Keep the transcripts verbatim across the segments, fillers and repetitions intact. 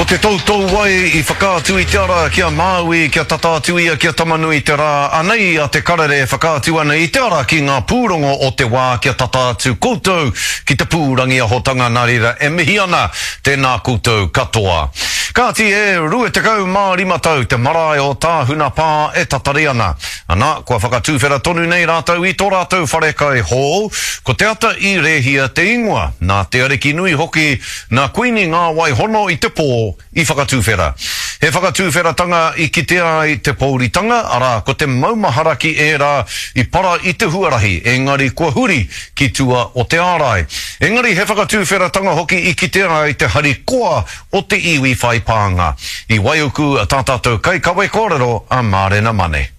Ko te toutouwai i whakaatu i te ara ki a Māui kia tata atu ia ki a Tamanui-te-rā, anei a Te Karere e whakaatu ana i te ara ki ngā pūrongo o te wā kia tata atu koutou ki te pūrangiahotanga nā reira e mihi ana tēnā koutou katoa. Kāti e rua tekau mā rima tau te marae o Tāhuna Pā e tatari ana. Ana, kua whakatuwhera tonu nei rātou i tō rātou wharekai hou, ko Te Ata i Rēhia te ingoa, nā Te Arikinui hoki, nā Kuini Ngāwai Hono i te pō i whakatuwhera. He whakatuwheratanga i kitea ai te pouritanga, arā, ko te maumahara ki ērā i para i te huarahi, engari kua huri ki tua o te ārai. Engari he whakatuwheratanga hoki i kitea ai te harikoa o te iwi whai pānga. I Waiuku tā tātou kaikawe kōrero a Mārena Mane.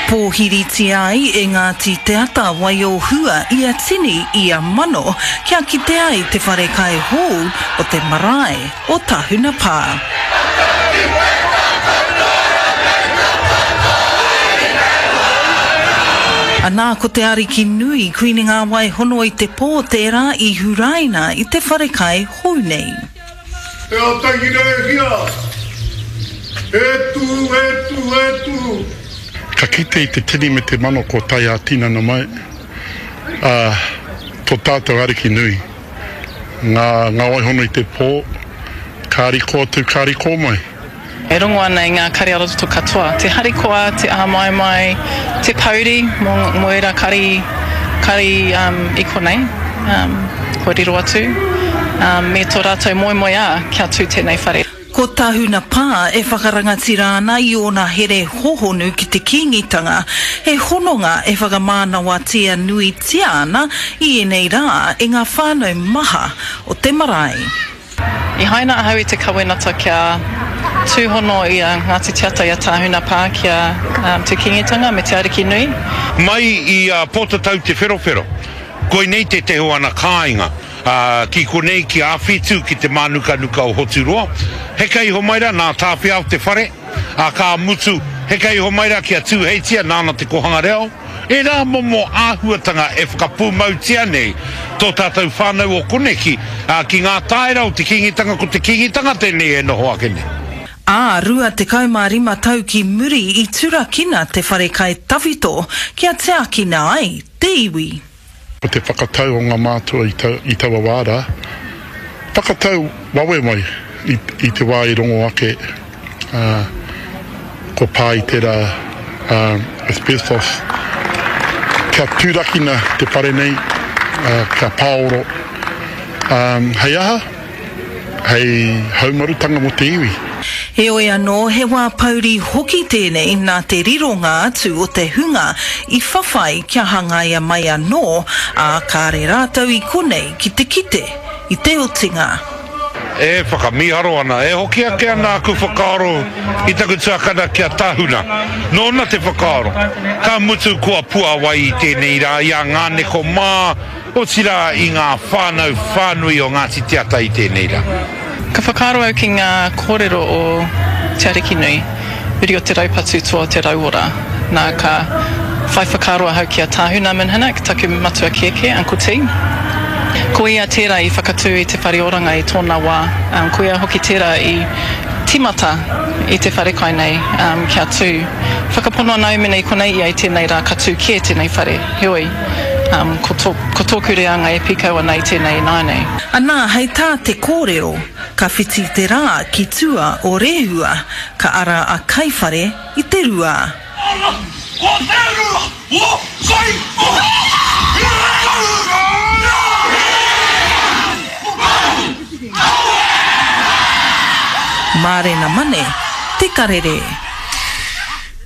Pōhiritia ai e Ngāti Te Ata Waiohua ia tini, ia mano, kia kite ai te whare kai hou o te marae o Tahuna Pā. Anā, ko te Ariki nui, Kuini Ngāwai Hono i te Pō tērā i huraina i te whare kai hou nei. Te ata i rēhia, e tū, e tū, e tū. Ka kite i te tini me te mano kua tae ā-tinana mai, ā, tō tātou Ariki nui, ngā, ngā waihono i te pō, ka riko atu, ka riko mai. E rongo ana i ngā kare ā-roto katoa, te harikoa, te āmaimai, te pouri mō, mō ērā kari, kari um, i konei, um, kua riro atu, um, me tō rātou moemoeā kia tū tēnei whare. Ko Tahuna Pā e whakarangatira ana i ōna here hohonu ki te Kīngitanga, he hononga e whakamānawatia nuitia ana i ēnei rā e ngā whānau maha o te marae. I haina ahau i te kawenata kia tūhono i a Ngāti Te Ata i a Tāhuna Pā ki a Te Kīngitanga me Te Ariki Nui. Mai i a Pōtatau Te Wherowhero, koinei tētehi o ana kāinga, ā, ki konei ki Āwhitu, ki te mānukanuka o Hoturoa. Heka iho mai rā, nā Tāwhiao te whare, ā, ka mutu, heka iho mai rā ki a Tūheitia, nāna te kōhanga reo. Ērā momo āhuatanga e whakapūmautia nei tō tātou whānau o koneki, ā, ki ngā tāera o te Kīngitanga, ko te Kīngitanga tēnei e noho ake nei. Ā, rua tekau mā rima tau ki muri i turakina te wharekai tawhito kia tiakina ai te iwi. Ko te whakatau o ngā mātua i taua wā rā, whakatau wawe mai i te wā i rongo ake kua pā i tērā asbestos, kia turakina te whare nei, kia pāoro, hei aha? Hei haumarutanga mō te iwi. Heoi anō, he wā pouri hoki tēnei nā te rironga atu o te hunga i whawhai kia hangaia mai anō, ā, kāre rātou i konei ki te kite i te otinga. E whakamīharo ana, e hoki ake ana aku whakaaro i taku tuakana ki a Tahuna. Nōna te whakaaro, ka mutu kua puāwai i tēnei rā i a Ngāneko mā, Otirā i ngā whānau whānui o Ngāti Te Ata i tēnei rā. Ka whakaaro au ki ngā kōrero o Te Arikinui, uri o te raupatu toa o te rauora. Nā, ka whai whakaaro ahau ki a Tāhuna Minhinnick, taku matua kēkē, Uncle T. Ko ia tērā i whakatū i te whare oranga i tōna wā. Ko ia hoki tērā i tīmata i te wharekai nei kia tū. Whakapono ana au mēnā i konei ia i tēnei rā ka tū kē tēnei whare. Heoi. Um, ko, tō, ko tōku reanga e pīkau ana i tēnei ināianei. Anā, hei tā te kōrero, ka whiti te rā ki tua o Rehua, ka ara a Kaiwhare i te rua. Ara, ko te rua o Kaiwhare! Mārena Mane, Te Karere.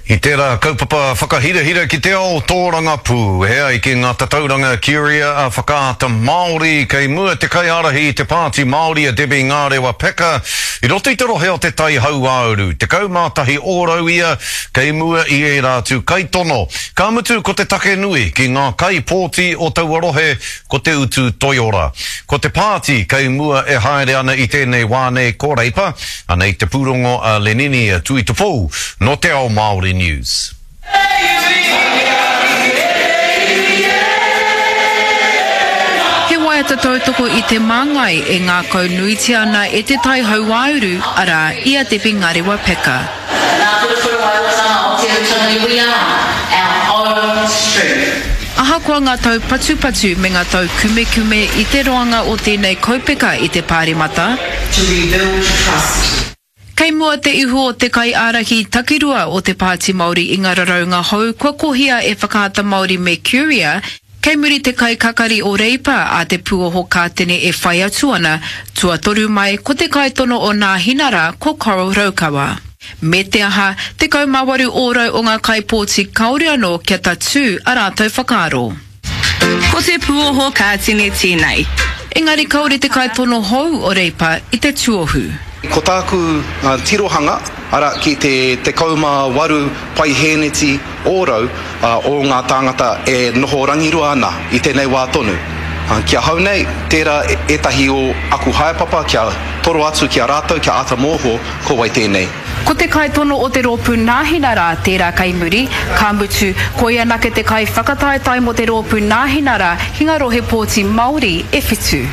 I tērā kaupapa whakahirahira ki te ao tōrangapū, e ai ki ngā tatauranga Curia a Whakaata Māori, kei mua te kaiārahi i te Pāti Māori a Debbie Ngārewa Peka i roto i te rohe o Te Tai Hauāuru, tekau mā tahi ōrau ia kei mua i ērā atu kaitono. Ka mutu ko te take nui ki ngā kaipōti o taua rohe ko te utu toiora. Ko te pāti kei mua e haere ana i tēnei wā nei ko Reipa, Anei te pūrongo a Lenini Tuitupou nō Te Ao Māori News. He waiata āta tautoko i te māngai e ngākau nuitia ana e Te Tai Hauāuru, arā, i a Debbie Ngarewa-Packer. Nā Purupuruwaiotanga o Te Utanui We are our own strength. Ahakoa ngā taupatupatu me ngā taukumekume i te roanga o tēnei kaupeka i te Pāremata, To rebuild trust. Kei mua te ihu o te kaiārahi takirua o te Pāti Māori i ngā raraunga hou kua kohia e Whakaata Māori me Curia, kei muri te kaikakari o Reipa a Te Pūoho Kātene e whai atu ana, tuatoru mai ko te kaitono o Nāhinara ko Coral Raukawa. Me te aha, tekau mā waru ōrau o ngā kaipōti kāore anō kia tatū a rātou whakaaro. Ko Te Pūoho Kātene tēnei. Engari kāore te kaitono hou o Reipa i te tuohu. Ko tāku tirohanga, arā, ki te tekau mā waru paihēneti ōrau o ngā tāngata e noho rangirua ana i tēnei wā tonu. Ki ahau nei, tērā ētahi o aku haepapa kia toro atu ki a rātou kia āta mōhio ko wai tēnei. Ko te kaitono o te rōpū Nāhinara tērā kei muri, ka mutu, ko ia anake te kaiwhakataetae mō te rōpū Nāhinara ki ngā rohe pōti Māori e whitu.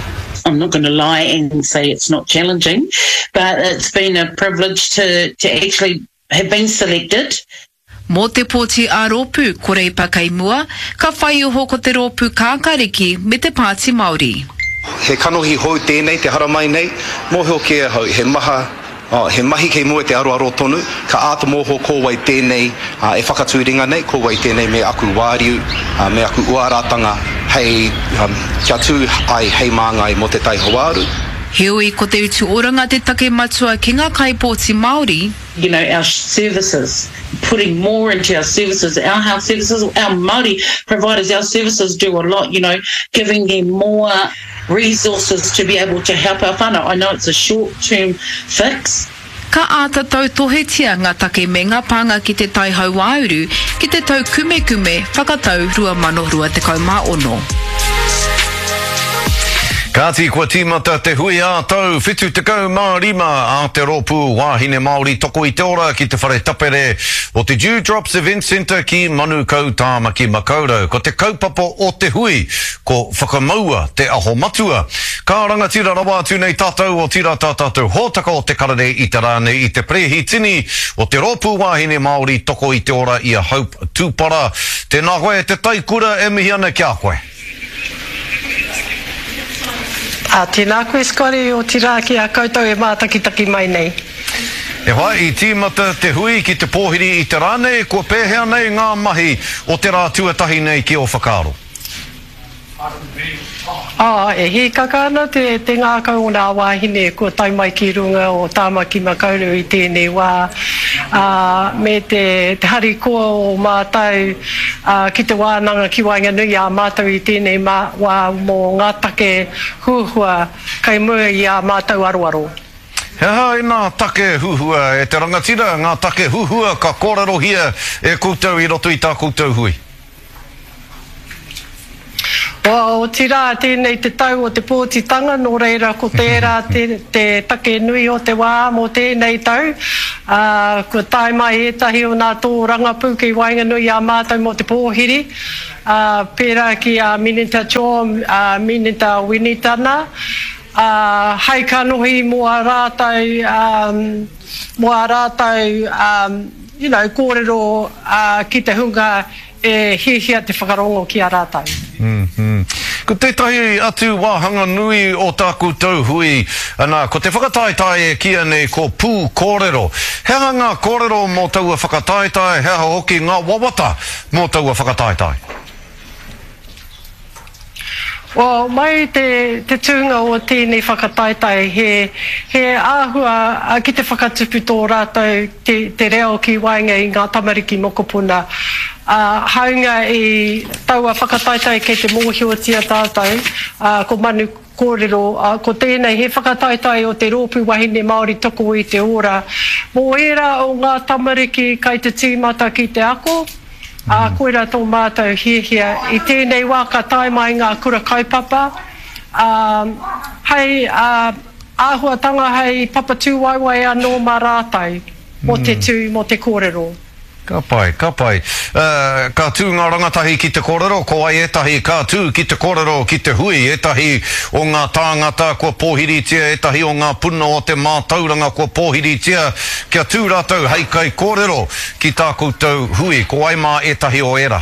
I'm not gonna lie and say it's not challenging, but it's been a privilege to to actually have been selected. Mō te pōti ā-rōpū, ko Reipa kei mua, ka whai iho ko te rōpū Kākāriki me te Pāti Māori. He kanohi hou tēnei te haramai nei, mōhio kē ahau he maha, he mahi kei mua i te aroaro tonu, ka āta mōhio ko wai tēnei e whakatū ringa nei, ko wai tēnei me aku wāriu, me aku uaratanga hei, kia tū ai hei māngai mō Te Tai Hauāuru. Heoi, ko te utu oranga te take matua ki ngā kaipōti Māori. You know, our services, putting more into our services, our health services, our Māori providers, our services do a lot, you know, giving them more resources to be able to help our whānau. I know it's a short term fix. Ka āta tautohetia ngā take me ngā pānga ki Te Tai Hauāuru ki te taukumekume whakatau rua mano rua tekau mā ono. Kāti, kua tīmata te hui ā-tau whitu tekau mā rima a te Rōpū Wāhine Māori Toko i te Ora ki te whare tapere o te Dew Drops Event Centre ki Manukau, Tāmaki Makaurau. Ko te kaupapa o te hui, ko Whakamaua te Aho Matua. Ka rangatira rawa atu nei tātou, otirā tā tātou hōtaka o te karere i te rā nei i te perehitini o te Rōpū Wāhine Māori Toko i te Ora i a Hope Tupara. Tēnā koe e te taikura e mihi ana ki a koe. Ā, tēnā koe Scotty, otirā ki a koutou e mātakitaki mai nei. E hoa, i tīmata te hui ki te pōhiri i te rā nei, kua pēhea nei ngā mahi o te rā tuatahi nei ki ō whakaaro? Ā, e hīkaka ana te, te ngākau o nā wāhine kua tae mai ki runga o Tāmaki Makaurau i tēnei wā, ā, me te, te harikoa o mātou, ā, ki te wānanga ki waenganui i a mātou i tēnei mā, wā mō ngā take huhua kei mua i ā mātou aroaro. He aha ēnā take huhua e te rangatira, ngā take huhua ka kōrerohia e koutou i roto i tā koutou hui? Otirā, tēnei te tau o te pōtitanga, nō reira ko tērā te, te take nui o te wā mō tēnei tau. Ā, kua tae mai ētahi o nā tōrangapū ki waenganui i a mātou mō te pōhiri, ā, pērā ki a Minita Cho, a Minita Winitana, ā, hei kanohi mō ā rātou, ā, mō ā rātou, ā, you know, kōrero, ā, ki te hunga e hiahia te whakarongo ki a rātou. Ko tētahi atu wāhanga nui o tā koutou hui, ana, ko te whakataetae e kīia nei ko Pū Kōrero. He aha ngā kōrero mō taua whakataetae, he aha hoki ngā wawata mō taua whakataetae? Well, mai te, te tūnga o tēnei whakataetae, he, he āhua ki te whakatupu tō rātou te, te reo ki waenga i ngā tamariki mokopuna. Ā, hāunga i taua whakataetae kei te mōhiotia tātou, ā, ko Manu Kōrero, ā, ko tēnei he whakataetae o te Rōpū Wahine Māori Toko i te Ora. Mō ērā o ngā tamariki kai te tīmata ki te ako, Ā, koirā tō mātou hiahia. I tēnei wā ka tae mai ngā kura kaupapa, ā, hei āhuatanga hei papa tūwaewae anō mā rātou mō te tū, mō te kōrero. Ka pai, ka pai. Uh, ka tū ngā rangatahi ki te kōrero, ko ai ētahi ka tū ki te kōrero, ki te hui, ētahi o ngā tāngata kua pōhiritia, ētahi o ngā puna o te mātauranga kua pōhiritia, kia tū rātou hei kai kōrero ki tā koutou hui. Ko ai mā ētahi o ērā?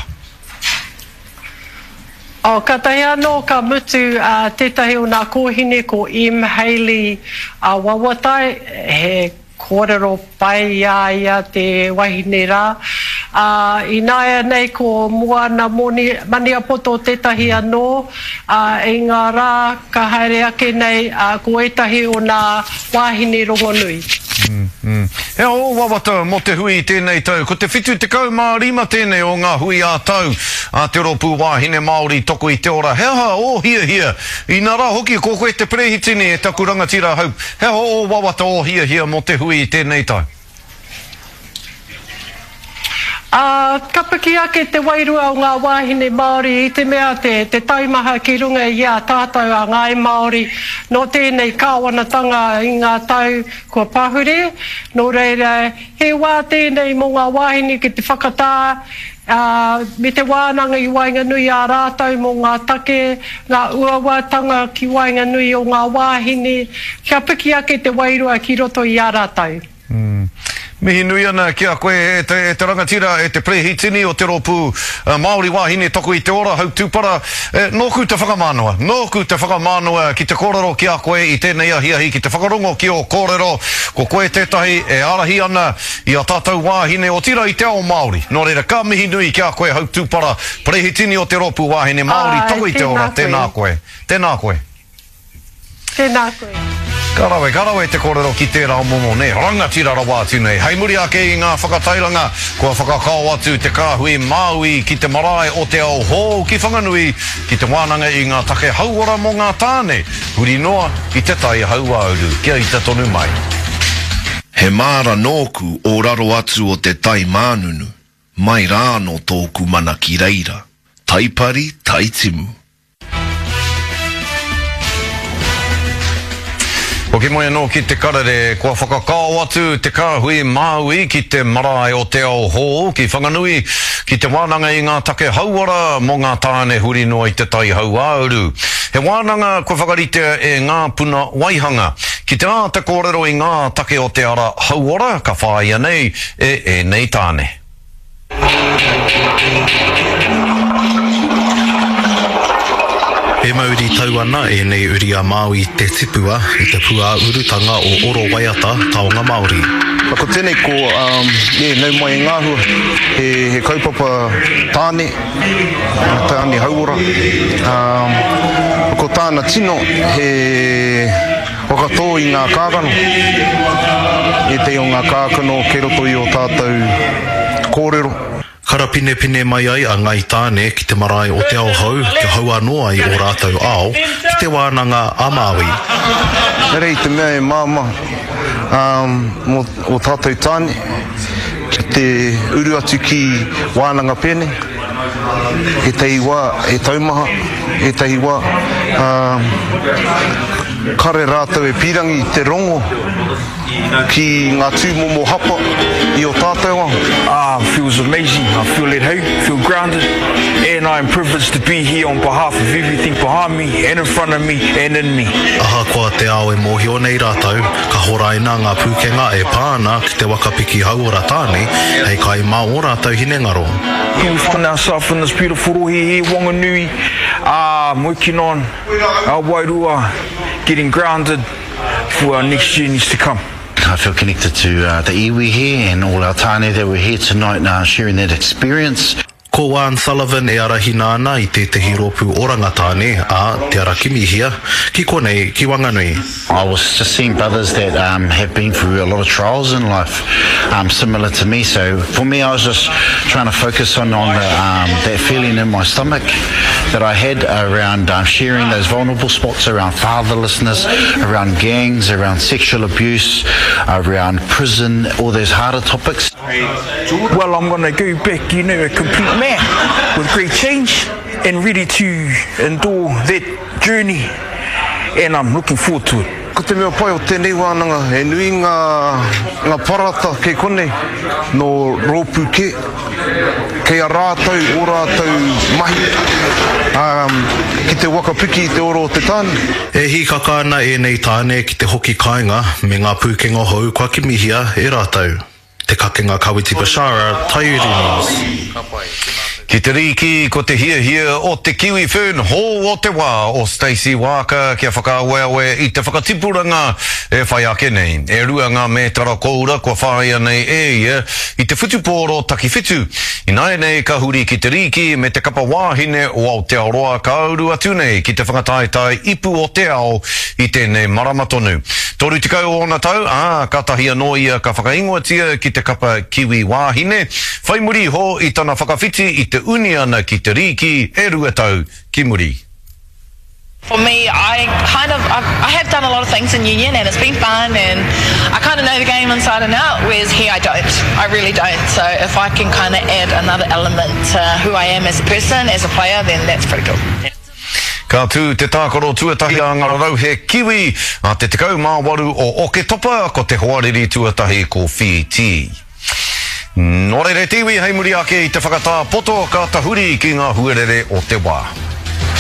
Oh, katahi anō ka mutu uh, tētahi o nā kōhine ko M. Haley uh, Wawatai, he kōrero pai i a ia te wahine rā. Uh, Ināia nei ko Moana Moni, Maniapoto tētahi anō, uh, i ngā rā ka haere ake nei uh, ko ētahi o nā wāhine rongonui. Mm, mm. He aha ō wawata mō te hui i tēnei tau? Ko te whitu tekau mā rima tēnei o ngā hui ā-tau a te Rōpū Wāhine Māori Toko i te Ora. He aha ō hiahia? Inā rā hoki, ko koe te perehitini e taku rangatira Hope. He aha ō wawata, ō hiahia mō te hui i tēnei tau? Uh, ka piki ake te wairua o ngā wāhine Māori i te mea te, te taimaha ki runga i a tātou a Ngāi Māori nō tēnei kāwanatanga i ngā tau kua pahure. Nō reira, he wā tēnei mō ngā wāhine ki te whakatā, uh, me te wānanga i waenganui a rātou mō ngā take, ngā uauatanga ki waenganui o ngā wāhine, kia piki ake te wairua ki roto i a rātou. Mm. Mihi nui ana ki a koe e te, e te rangatira, e te perehitini o te Rōpū uh, Māori Wāhine Toko i te Ora, Hope Tupara. E, nōku te whakamānawa, nōku te whakamānawa ki te kōrero ki a koe i tēnei ahiahi, ki te whakarongo ki ō kōrero. Ko koe tētahi e ārahi ana i a tātou wāhine otirā i te ao Māori. Nō reira, ka mihi nui ki a koe, Hope Tupara, perehitini o te Rōpū Wāhine Māori Ai, Toko i te Ora. Tēnā Tēnā koe. Tēnā koe. Tēnā koe. Ka rawe, ka rawe te kōrero ki tērā momo, nē, rangatira rawa atu nei. Hei muri ake i ngā whakatairanga, kua whakakao atu te kāhui Māui ki te marae o te ao hou ki Whanganui, ki te wānanga i ngā take hauora mō ngā tāne, huri noa i te tai hauāuru. Kia ita tonu mai. He māra nōku o raro atu o te tai mānunu, mai rāno tōku mana ki reira. Taipari, taitimu. Hoki mai anō ki te karere, kua whakakao atu te kāhui Māui ki te marae o te ao hou ki Whanganui, ki te wānanga i ngā take hauora mō ngā tāne huri noa i te tai hauāuru. He wānanga kua whakaritea e ngā puna waihanga. Ki te āta kōrero i ngā take o te ara hauora, ka whāia nei e ēnei tāne. E mauri tau ana ēnei uri a Māui te tipua i te pūāurutanga o Oro Waiata Taonga Māori. Ko tēnei ko um, e, nau mai e ngāhua, he, he kaupapa tāne, tāne hauora. Um, ko tāna tino he whakatō i ngā kākano, ētahi o ngā kākano kei roto i o tātou kōrero. Karapinepine mai ai a Ngai Tāne ki te marae o te ao hou, kia hau anō ai o rātou ao, ki te wānanga a Māui. Nere i te mea e māma um, mō o tātou tāne, ki te uru atu ki wānanga pēnei, ētahi wā e taumaha, ētahi wā um, kare rātou e pīrangi te rongo ki ngā tūmomo hapa i o tātou ao. Ah, feels amazing. I feel at home, feel grounded, and I am privileged to be here on behalf of everything behind me and in front of me and in me. Ahakoa te ao e mōhio nei rātou, ka horaina ngā pūkenga e pā ana ki te wakapiki hauora tāne, hei kai mā o rātou hinengaro. We find ourselves in this beautiful rohe here, Wanganui, um, working on our wairua, getting grounded for our next journeys to come. I feel connected to uh, the iwi here and all our tāne that were here tonight uh, sharing that experience. Ko Juan Sullivan e arahina ana i tētehi rōpū oranga tāne a Te Ara Kimihia ki konei ki Wanganui. I was just seeing brothers that um, have been through a lot of trials in life, um, similar to me. So for me, I was just trying to focus on, on the, um, that feeling in my stomach that I had around um, sharing those vulnerable spots around fatherlessness, around gangs, around sexual abuse, around prison, all those harder topics. Well, I'm gonna go back, you know, a complete man with great change and ready to endure that journey, and I'm looking forward to it. Ko te mea pai o tēnei wānanga, he nui ngā, ngā parata kei konei nō rōpū kē, kei a rātou, o rātou mahi um, ki te waka piki i te ora o te tāne. E hīkaka ana ēnei tāne ki te hoki kāinga me ngā pūkenga hou kua kimihia e rātou. Te Kakenga Kawiti Bashara, Taiuri News. Ki te rīki, ko te hiahia o te Kiwi Fern hou o te wā o Stacey Waaka kia whakaaweawe i te whakatipuranga e whai ake nei. E rua ngā mētara koura kua whāia nei e ia i te whutupōro takiwhitu. Ināianei ka huri ki te rīki me te kapa wāhine o Aotearoa ka uru atu nei ki te whakataetae ipu o te ao i tēnei marama tonu. Toru tekau ōna tau, ā, kātahi anō ia ka whakaingoatia ki te kapa Kiwi wāhine, whai muri iho i tana whakawhiti i te uniana ki te rīki e rua tau ki muri. For me, I kind of, I've, I have done a lot of things in union and it's been fun and I kind of know the game inside and out, whereas here I don't. I really don't. So if I can kind of add another element to who I am as a person, as a player, then that's pretty cool. Ka tū te tākaro tuatahi a ngā rarauhe Kiwi a te tekau mā waru o Oketopa, ko te hoariri tuatahi ko Whītī. Nō reira te iwi hei muri ake i te whakatā poto ka tahuri ki ngā huarere o te wā.